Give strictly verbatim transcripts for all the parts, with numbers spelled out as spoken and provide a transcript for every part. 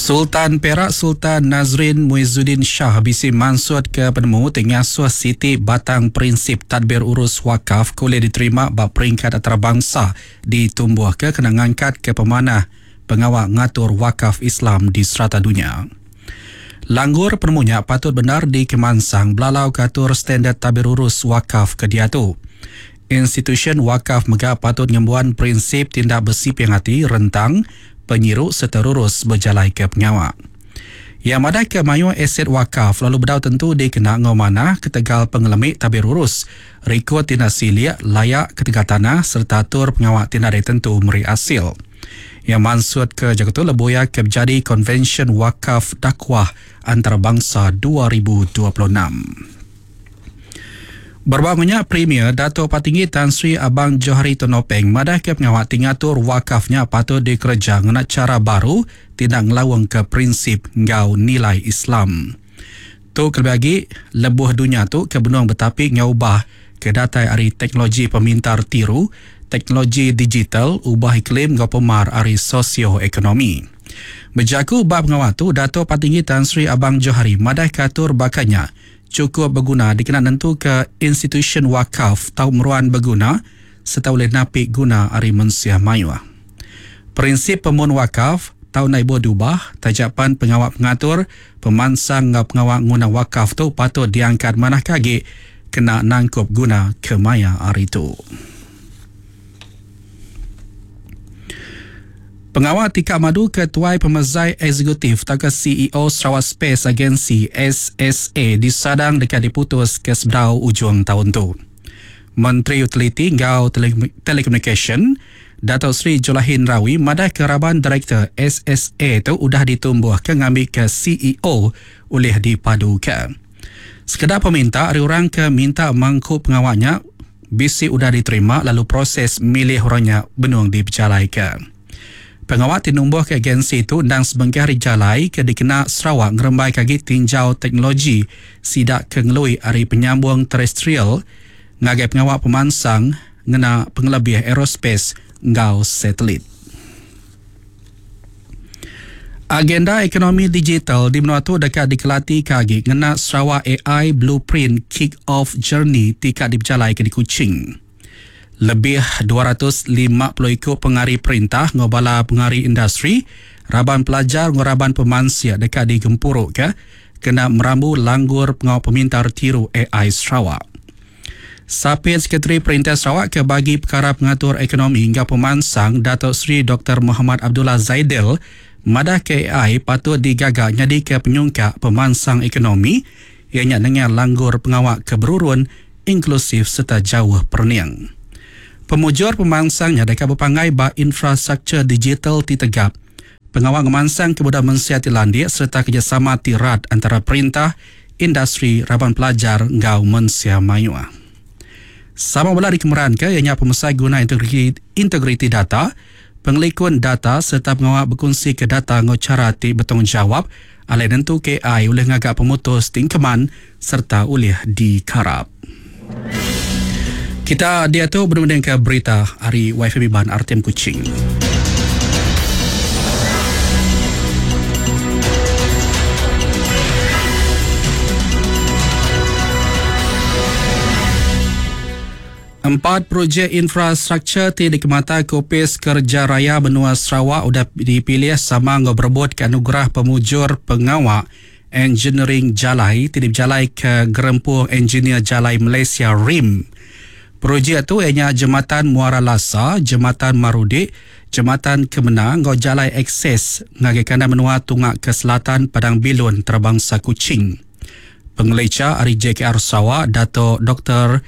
Sultan Perak Sultan Nazrin Muizzuddin Shah bisi mansut ke penemu ti ngasuh siti batang prinsip tadbir urus wakaf ke ulih diterima ba peringkat antarabangsa ditumbuh ke kena ngangkat ke pemanah pengawa ngatur wakaf Islam di serata dunya. Langgur penemunya patut benar dikemansang belalau ke atur standard tadbir urus wakaf ke diatu. Institusyen wakaf mega patut ngembuan prinsip tindak bersiping hati rentang penyiru serta rurus berjalai ke pengawak. Yang madah ke mayu aset wakaf lalu bedau tentu dikena ngau manah ketegal pengelemik tabir urus, rekod tindak siliak layak ketegal tanah serta atur pengawak tindak dari tentu meri hasil. Yang mansut ke Jakarta Leboya ke menjadi Konvensyen Wakaf Dakwah Antarabangsa dua ribu dua puluh enam. Berbangunnya Premier Dato' Patinggi Tan Sri Abang Johari Tun Openg madah ke pengawak tingatur wakafnya patut dikerja ngena cara baru tindak ngelawang ke prinsip ngau nilai Islam. Tu kelebih lagi lebuh dunia tu ke benung betapi ngubah ke datai ari teknologi pemintar tiru, teknologi digital, ubah iklim ngau pemar ari sosioekonomi. Bejaku bab pengawak tu Dato' Patinggi Tan Sri Abang Johari madah ke atur bakanya cukup berguna dikena nentu ke institusyen wakaf tau meruan berguna serta boleh napi guna ari mensia mayuh. Prinsip pemun wakaf tau naik dubah tajapan pengawak pengatur pemansang ngau pengawak nguna wakaf tu patut diangkat manah kagi kena nangkup guna kemaya hari tu. Pengawal Tika Madu Ketuai Pemezai Eksekutif atau C E O Sarawak Space Agency S S A disadang dekat diputus ke sebedau ujung tahun tu. Menteri Utiliti ngau Tele- Telekomunikasi Dato' Sri Julaihi Narawi madah keraban Direktur S S A tu udah ditumbuh ke ngambil ke C E O oleh dipadu ke. Sekedar peminta ari orang ke minta mangku pengawalnya B C udah diterima lalu proses milih orangnya benung diberjalai ke. Pengawal tinumbuh ke agensi itu ndang sebengkah jalai ke dikena Sarawak ngerembai kagi tinjau teknologi sidak ke ngelui ari penyambung terestrial ngagai pengawal pemansang ngena pengelebih aerospace ngau satelit. Agenda ekonomi digital di menua tu dekat dikelati kagi ngena Sarawak A I Blueprint Kick Off Journey tika diberjalai ke di Kuching. Lebih dua ratus lima puluh ikut pengari perintah ngobala pengari industri, raban pelajar ngoraban pemansia dekat di Gempuruk ke kena merambu langgur pengawal pemintar tiru A I Sarawak. Sapit Sekretari Perintah Sarawak ke bagi perkara pengatur ekonomi hingga pemansang Datuk Seri Doktor Muhammad Abdullah Zaidel madah ke A I patut digagak nyadi ke penyungkak pemansang ekonomi ianya dengan langgur pengawak keberurun inklusif serta jauh perniang. Pemujur pemansangnya dekat berpangai ba infrastruktur digital ti tegap. Pengawal ngemansang kemudah mensia ti landik serta kerjasama ti rat antara perintah, industri, raban pelajar ngau mensia mayuh. Sama bela dikemeran ke ianya pemesai guna integriti, integriti data, pengelikun data serta pengawal berkongsi ke data ngau cara ti bertanggungjawab alai nentu K I oleh ngagak pemutus tingkeman serta oleh dikarap. Kita dia tu berunding ke berita hari Y F M Iban R T M Kuching. Empat projek infrastruktur ti dikemata Kopis Kerja Raya Benua Sarawak udah dipilih sama ngau berebut ke anugerah pemujur pengawak Engineering Jalai ti diberjalai ke Gerempung Engineer Jalai Malaysia R I M. Projek tu ianya Jembatan Muara Lasa, Jembatan Marudik, Jembatan Kemenang ngau jalai akses ngagai kanan menua tungak ke selatan Padang Bilun Terbangsa Kuching. Pengeleca ari J K R Sarawak Dato' Doktor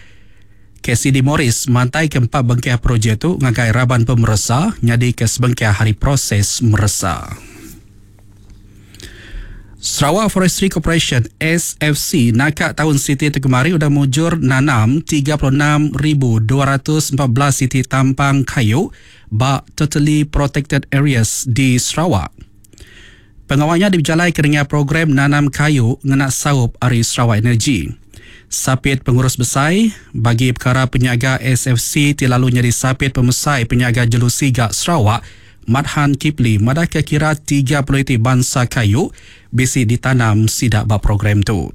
K C D Morris mantai keempat bengkah projek tu ngagai raban pemeresa nyadi ke sebengkah hari proses meresa. Sarawak Forestry Corporation S F C nakak tahun siti tu kemari udah mujur nanam tiga puluh enam ribu dua ratus empat belas siti tampang kayu ba totally protected areas di Sarawak. Pengawalnya diberjalai ke program nanam kayu ngena saup ari Sarawak Energy. Sapit pengurus besar bagi perkara penyaga S F C ti lalu nyadi sapit pemesai penyaga jelu siga Sarawak Mathan Kipli madah ke kira tiga puluh iti bansa kayu bisi ditanam sidak ba program tu.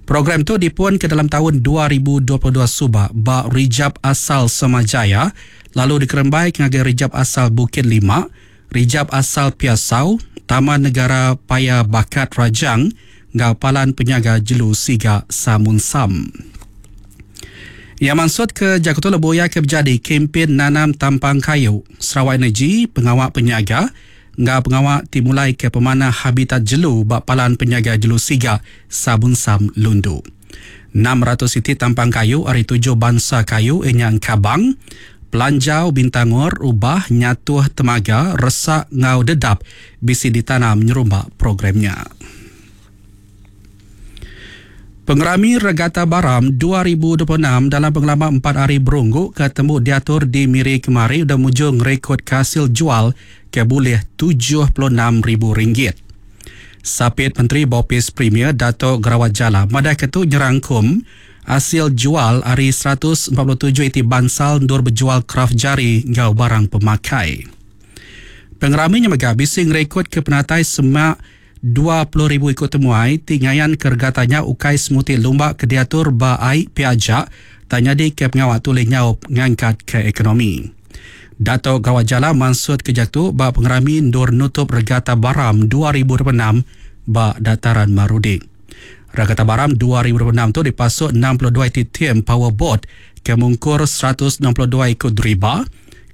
Program tu dipun ke dalam tahun dua ribu dua puluh dua suba ba Rijab Asal Samajaya lalu dikerembai ke ngagai Rijab Asal Bukit Lima, Rijab Asal Piasau, Taman Negara Paya Bakat Rajang ngau Palan Penyaga Jelu Siga Samunsam. Ia maksud ke Jakarta Lebuya ke berjadi kempen nanam tampang kayu Sarawak Energy pengawak penyaga ngau pengawak timulai ke pemanah habitat jelu bak Palan Penyaga Jelu Siga Samunsam Lundu. enam ratus iti tampang kayu hari tujuh bangsa kayu inyang Kabang, Pelanjau Bintangor, Ubah, Nyatuh Temaga, Resak ngau Dedap bisi ditanam nyerumba programnya. Pengerami Regata Baram dua ribu dua puluh enam dalam pengalaman empat hari berunggu ketemu diatur di Miri kemari udah mujung rekod kasil jual ke boleh tujuh puluh enam ribu ringgit. Sapit Menteri Bopis Premier Dato' Gerawat Jala madah ketu nyerangkum hasil jual hari seratus empat puluh tujuh iti bansal ndur berjual kraft jari ngau barang pemakai. Pengeraminya mega bising rekod ke penatai semak dua puluh ribu ikut temuai tingayan kergatanya ukai semuti lumba kediatur ba ai piajak tanya di ke pengawak tulis nyaup ngangkat ke ekonomi. Dato' Gerawat Jala maksud kejatu ba pengerami ndur nutup Regata Baram dua ribu dua puluh enam ba Dataran Marudi. Regata Baram dua ribu dua puluh enam tu dipasuk enam puluh dua iti tim powerboat ke mungkur seratus enam puluh dua ikut deriba.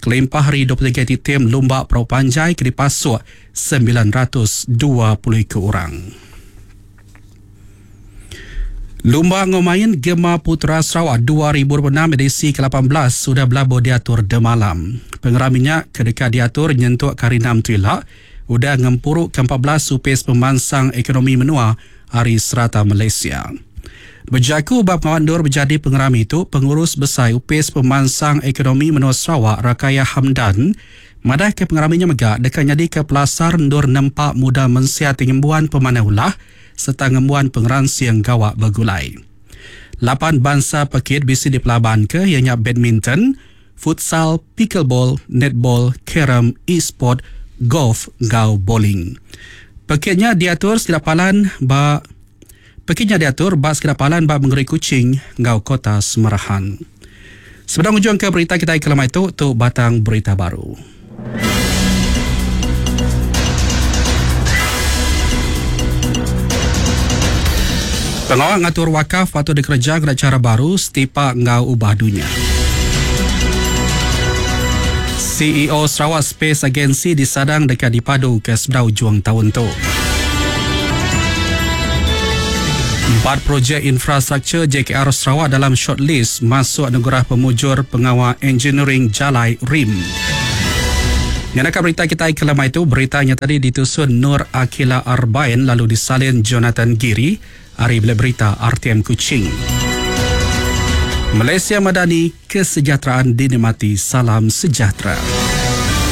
Kelimpah hari dua puluh tiga iti tim lumba perahu panjai ke dipasuk sembilan ratus dua puluh ikut orang. Lumba ngomain Gema Putra Sarawak dua ribu dua puluh enam edisi ke lapan belas sudah berlabuh diatur demalam. Pengeraminya kedekat diatur nyentuk karinam tuila udah ngempuruk ke empat belas supis pemansang ekonomi menua hari serata Malaysia. Berjaku bab pengawandur berjadi pengerami itu, pengurus besar Upis Pemansang Ekonomi Menua Sarawak Rakaya Hamdan madah ke pengeraminya megak dekat nyadi ke pelasar ndur nempak muda mensia tingembuan pemanah ulah serta ngembuan pengeransiang gawak bergulai. Lapan bangsa pekit bisi dipelaban ke ianya badminton, futsal, pickleball, netball, carom, e-sport, golf, gau bowling. Pekitnya diatur sekitar ba Pekitnya diatur bas kedapalan bab mengeri Kuching ngau kota Semerahan. Sebelum ujung ke berita kita kelamai itu, tu batang berita baru. Pengawal ngatur wakaf atau dikerja kena cara baru setipak ngau ubah dunia. C E O Sarawak Space Agency disadang dekat dipadu ke sebelah ujung tahun tu. Empat projek infrastruktur J K R Sarawak dalam shortlist masuk anugerah pemujur pengawal engineering Jalai R I M. Yang nak berita kita kelamai itu, beritanya tadi ditusun Nur Akila Arbain lalu disalin Jonathan Giri. Hari bila berita R T M Kuching. Malaysia Madani, kesejahteraan dinikmati, salam sejahtera.